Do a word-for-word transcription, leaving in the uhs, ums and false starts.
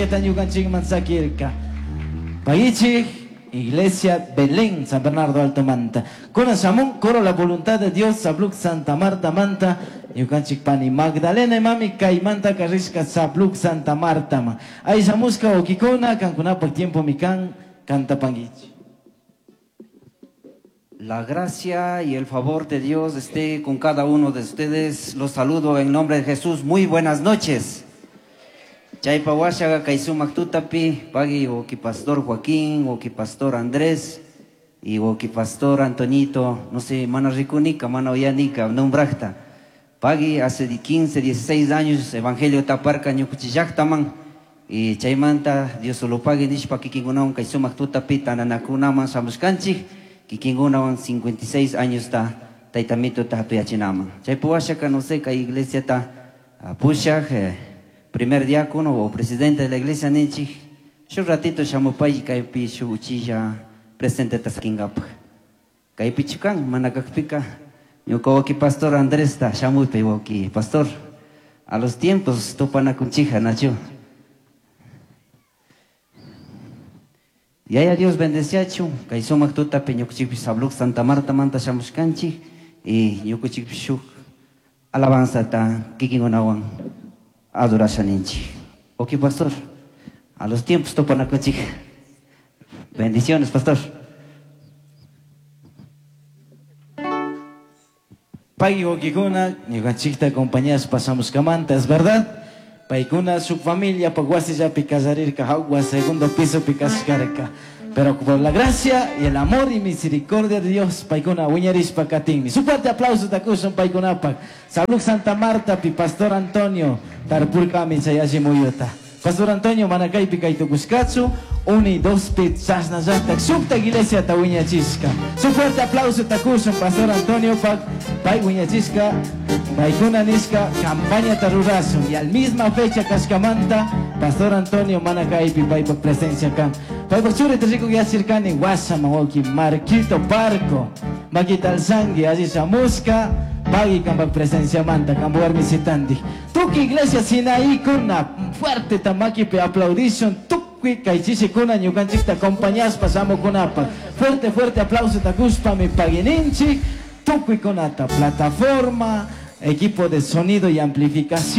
Chequeta ñukanchikman sakirka. Pagichik, Iglesia Belén, San Bernardo Alto Manta. Kuna shamun, coro la voluntad de Dios, Sabluk Santa Marta Manta, ñukanchik pani Magdalena mami kaymanta karishka Sabluk Santa Marta ma. Ay shamushka wawkikuna, kankunapak tiempo mi kan, kantapanguichik. La gracia y el favor de Dios esté con cada uno de ustedes. Los saludo en nombre de Jesús. Muy buenas noches. Chaypa washaga kay sumak tutapi, pagui wawki pastor Joaquín, wawki pastor Andrés y wawki pastor Antoñito, no sé, mana rikunika, mana uyanika, nombrajta. Pagui hace quince, dieciséis años evangelio taparka ñukuchillaktaman y chaymanta Dios solo pagui nishpa kikinkunawan kay sumak tutapi tananakunaman shamushkanchik, kikinkunawan cincuenta y seis años ta taytamito ta hatuyachinaman. Chaypa washaka no sé, kay iglesia ta pushaj, eh, primer diácono o presidente de la iglesia ninchik, shu ratito shamupay kaypi shu uchilla presente ta sakinkapaj. Kaypi chukan mana kakpika ñuka wawki pastor Andrés ta shamuypay wawki pastor. A los tiempos tupanakunchija nachu. Yaya Dios bendeciachu kay sumak tutapi ñukuchikpi Sabluk Santa Marta manta shamushkanchik y ñukuchikpi shuk alabanza ta kikinkunawan adorasha ninchik. Ok, pastor, a los tiempos tupanakunchik. Bendiciones, pastor. Pagui wawkikuna, ñukanchikta acompañash pasamos kamanta, es verdad. Paykuna su familia pa wasillapi kallarirka, jawwa segundo piso pi kashkarka. Pero por la gracia y el amor y misericordia de Dios, paykuna wiñarishpa katinmi. Su fuerte aplauso takushun paykunapak. Salud Santa Marta pi Pastor Antonio tarpurkami chayashi muyuta. Pastor Antonio manakaypi kaytukushkachu, uni dos pi chashnallata shukta iglesia ta wiñachishka. Su fuerte aplauso takushun Pastor Antonio pak, pay wiñachishka, paykuna nishka campaña tarurasun. Y al misma fecha kashkamanta, Pastor Antonio manakaypi paypak presencia kan. Paypak churi riku yachirkani wasama wawki Marquito Parco. Makita alzangui, allí shamushka, pagui kampak presencia manta, kampu warmi sitanti. Tuki iglesia Sinaí kuna, fuerte tamakipi aplaudishun, tukuy kay chishi kuna ñukanchikta acompañaspa shamukunapa. Fuerte, fuerte aplauso takushpa mi paguininchik, tukuy kunata, plataforma, equipo de sonido y amplificación.